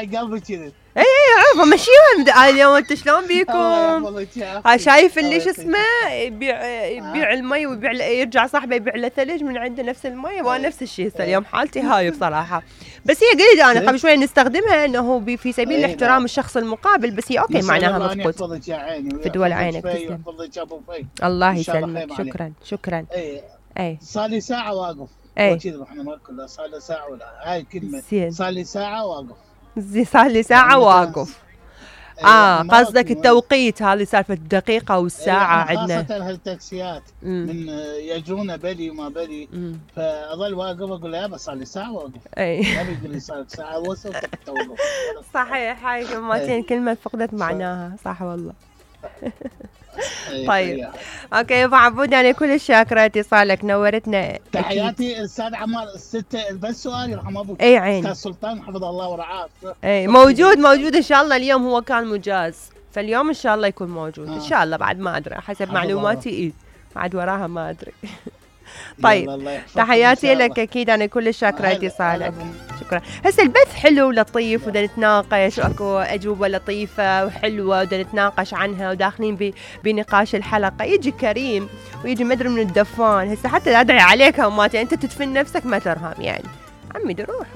هاي قلبي كذا. اي عرفه مشيهم اليوم. انت شلون بيكم؟ شايف اللي شو اسمه يبيع المي ويبيع يرجع صاحبه يبيع له ثلج من عنده نفس المي. وانا نفس الشيء هسه اليوم حالتي هاي بصراحه. بس هي قلت انا قبل شوي نستخدمها انه في سبيل الاحترام الشخص المقابل. بس هي اوكي معناها مضبوط. في دول عينك تسلم. الله يسلمك. شكرا. اي صار لي ساعه واقف. كذا احنا ما كنا صار لي ساعه ولا هاي كلمه. صار لي ساعه واقف. صار لي ساعه واقف. قصدك التوقيت هذه سالفه الدقيقه والساعه عندنا خاصه هالتاكسيات من يجونا بلي وما بلي. فاظل واقف اقول له بس صار لي ساعه واقف. ما بيقول لي صار ساعه وصلت توقف. صحيح. هاي كلمتين كلمه فقدت معناها. صح والله. طيب اوكي ابو عبود انا كل شاكره اتصالك نورتنا. تحياتي استاذ عمار. بس سؤال يرحم ابوك. اي عين استاذ سلطان حفظه الله ورعاه. اي موجود ان شاء الله. اليوم هو كان مجاز فاليوم ان شاء الله يكون موجود ان شاء الله. بعد ما ادري حسب معلوماتي بعد وراها ما ادري. طيب تحياتي لك اكيد انا كل شاكره اتصالك. شكرا. هسه البث حلو ولطيف ودا نتناقش واكو اجوبه لطيفه وحلوه ودا نتناقش عنها وداخلين بنقاش الحلقه. يجي كريم ويجي مدري من الدفان. هسه حتى ادعي عليك هماتي انت تدفن نفسك ما ترهم يعني عمي روح